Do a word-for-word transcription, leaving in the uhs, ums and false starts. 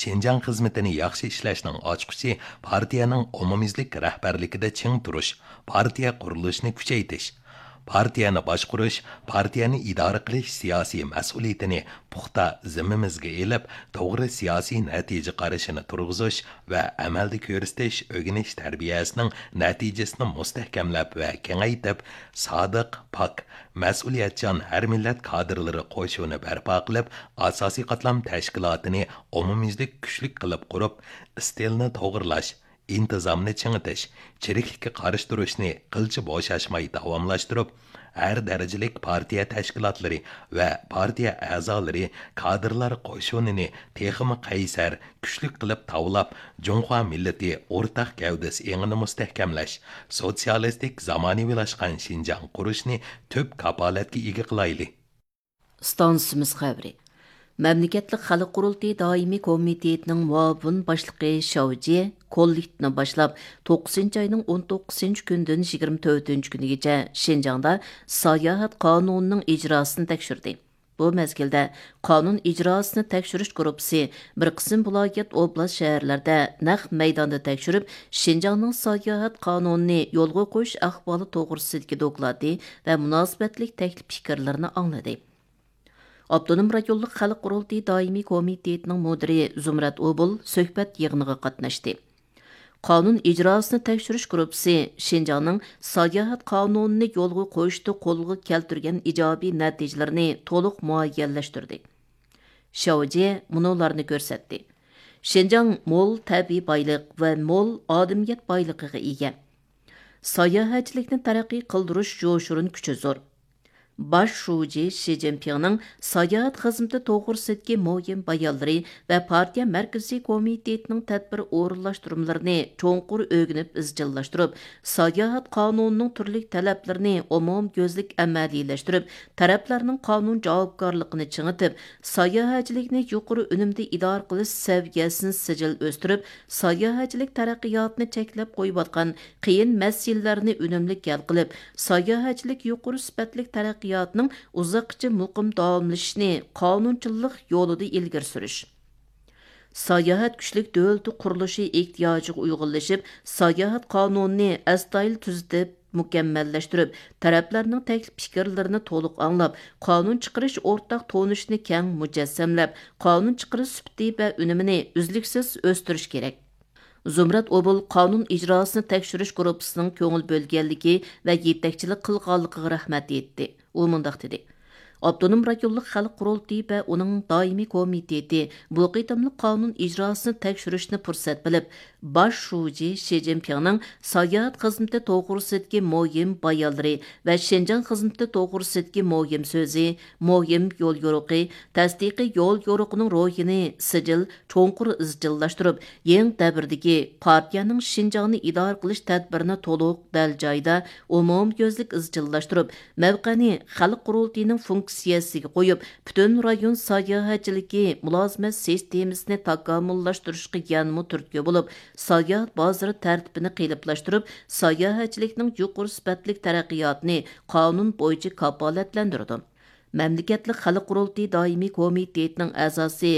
شىنجاڭ خىزمىتىنى ياخشى ئىشلەشنىڭ ئاچقۇچى پارتىيەنىڭ ئومۇميۈزلۈك رەھبەرلىكىدە چىڭ تۇرۇش، پارتىيە قۇرۇلۇشىنى كۈچەيتىش، پارتىيەنى باشقۇرۇش، پارتىيەنى ئىدارە قىلىش سىياسىي مەسئۇلىيىتىنى پۇختا زىممىمىزگە ئېلىپ، توغرا سىياسىي نەتىجە قارىشىنى تۇرغۇزۇش ۋە ئەمەلدە كۆرسىتىش ئۆگىنىش تەربىيەسىنىڭ نەتىجىسىنى مۇستەھكەملەپ ۋە كېڭەيتىپ، سادىق، پاك، مەسئۇلىيەتچان ھەر مىللەت كادىرلىرى قوشۇنى بەرپا قىلىپ، ئاساسىي قاتلام تەشكىلاتىنى ئومۇميۈزلۈك كۈچلۈك قىلىپ قۇرۇپ، ئىستىلنى توغرىلاش، ئىنتىزامنى چىڭىتىش، چىرىكلىككە قارشى تۇرۇشنى قىلچە بوشاشماي داۋاملاشتۇرۇپ، ھەر دەرىجىلىك پارتىيە تەشكىلاتلىرى ۋە پارتىيە ئەزالىرى، كادىرلار قوشۇنىنى تېخىمۇ قەيسەر، كۈچلۈك قىلىپ تاۋلاپ، جۇڭخۇا مىللىتى ئورتاق گەۋدىسى ئېڭىنى مۇستەھكەملەش، سوتسىيالىستىك زامانىۋىلاشقان شىنجاڭ قۇرۇشنى تۈپ كاپالەتكە ئىگە قىلايلى. ئىستانسىمىز خەۋىرى. مەملىكەتلىك خەلق قۇرۇلتىيى دائىمىي كومىتېتىنىڭ مۇئاۋىن باشلىقى شاۋ جيې كوللېكتىپنى باشلاپ، توققۇزىنچى ئاينىڭ ئون توققۇزىنچى كۈنىدىن يىگىرمە تۆتىنچى كۈنىگىچە شىنجاڭدا ساياھەت قانۇنىنىڭ ئىجراسىنى تەكشۈردى. بۇ مەزگىلدە قانۇن ئىجراسىنى تەكشۈرۈش گۇرۇپپىسى بىر قىسىم ۋىلايەت، ئوبلاست، شەھەرلەردە نەق مەيداندا تەكشۈرۈپ، شىنجاڭنىڭ ساياھەت قانۇنىنى يولغا قويۇش ئەھۋالى توغرىسىدىكى دوكلاتى ۋە مۇناسىۋەتلىك تەكلىپ پىكىرلىرىنى ئاڭلىدى. ئاپتونوم رايونلۇق خەلق قۇرۇلتىيى دائىمىي كومىتېتىنىڭ مۇدىرى زۇمرەت ئوبۇل سۆھبەت يىغىنىغا قاتناشتى. قانۇن ئىجراسىنى تەكشۈرۈش گۇرۇپپىسى شىنجاڭنىڭ ساياھەت قانۇنىنى يولغا قويۇشتا قولغا كەلتۈرگەن ئىجابىي نەتىجىلىرىنى تولۇق مۇئەييەنلەشتۈردى. شاۋ جيې مۇنۇلارنى كۆرسەتتى. شىنجاڭ مول تەبىئىي بايلىق ۋە مول ئادەمىيەت بايلىقىغا ئىگە. ساياھەتچىلىكنى تەرەققىي قىلدۇرۇش يوشۇرۇن كۈچى زور. باش شۇجى شى جىنپىڭنىڭ ساياھەت خىزمىتى توغرىسىدىكى مۇھىم بايانلىرى ۋە پارتىيە مەركىزىي كومىتېتىنىڭ تەدبىر ئورۇنلاشتۇرمىلىرىنى چوڭقۇر ئۆگىنىپ ئىزچىللاشتۇرۇپ، ساياھەت قانۇنىنىڭ تۈرلۈك تەلەپلىرىنى ئومۇميۈزلۈك ئەمەلىيلەشتۈرۈپ، تەرەپلەرنىڭ قانۇن جاۋابكارلىقىنى چىڭىتىپ، ساياھەتچىلىكنى يۇقىرى ئۈنۈمدە ئىدارە قىلىش سەۋىيەسىنى سىجىل ئۆستۈرۈپ، ساياھەتچىلىك تەرەققىياتىنى چەكلەپ قويۇۋاتقان قىيىن مەسىلىلەرنى ئۈنۈملۈك ھەل قىلىپ، ساياھەتچىلىك يۇقىرى سۈپەتلىك تەرەققىياتىنىڭ ئۇزاققىچە مۇقىم داۋاملىشىشىنى قانۇنچىللىق يولىدا ئىلگىرى سۈرۈش. ساياھەت كۈچلۈك دۆلىتى قۇرۇلۇشى ئېھتىياجىغا ئۇيغۇنلىشىپ، ساياھەت قانۇنىنى ئەستايىدىل تۈزىتىپ، مۇكەممەللەشتۈرۈپ، تەرەپلەرنىڭ تەكلىپ پىكىرلىرىنى تولۇق ئاڭلاپ، قانۇن چىقىرىش ئورتاق تونۇشىنى كەڭ مۇجەسسەملەپ، قانۇن چىقىرىش سۈپىتى ۋە ئۈنۈمىنى ئۈزلۈكسىز ئۆستۈرۈش كېرەك. زۇمرەت ئوبۇل قانۇن ئىجراسىنى تەكشۈرۈش گۇرۇپپىسىنىڭ كۆڭۈل بۆلگەنلىكى ۋە يېتەكچىلىك قىلغانلىقىغا رەھمەت ئېيتتى. ئۇ مۇنداق دېدى: ئاپتونوم رايونلۇق خەلق قۇرۇلتىيى ۋە ئۇنىڭ دائىمىي كومىتېتى بۇ قېتىملىق قانۇن ئىجراسىنى تەكشۈرۈشنى پۇرسەت بىلىپ، باش شۇجى شى جىنپىڭنىڭ ساياھەت خىزمىتى توغرىسىدىكى مۇھىم بايانلىرى ۋە شىنجاڭ خىزمىتى توغرىسىدىكى مۇھىم سۆزى، مۇھىم يوليورۇقى، تەستىقىي يوليورۇقىنىڭ روھىنى سىجىل، چوڭقۇر ئىزچىللاشتۇرۇپ، يېڭى دەۋردىكى پارتىيەنىڭ شىنجاڭنى ئىدارە قىلىش تەدبىرىنى تولۇق، دەل جايىدا، ئومۇميۈزلۈك ئىزچىللاشتۇرۇپ، مەۋقەنى خەلق قۇرۇلتىيىنىڭ فۇنكسىيەسىگە قويۇپ، پۈتۈن رايون ساياھەتچىلىكى مۇلازىمەت سىستېمىسىنى تاكامۇللاشتۇرۇشقا يەنىمۇ تۈرتكە بولۇپ، ساياھەت بازىرى تەرتىپىنى قېلىپلاشتۇرۇپ، ساياھەتچىلىكنىڭ يۇقىرى سۈپەتلىك تەرەققىياتىنى قانۇن بويىچە كاپالەتلەندۈرىدۇ. مەملىكەتلىك خەلق قۇرۇلتىيى دائىمىي كومىتېتىنىڭ ئەزاسى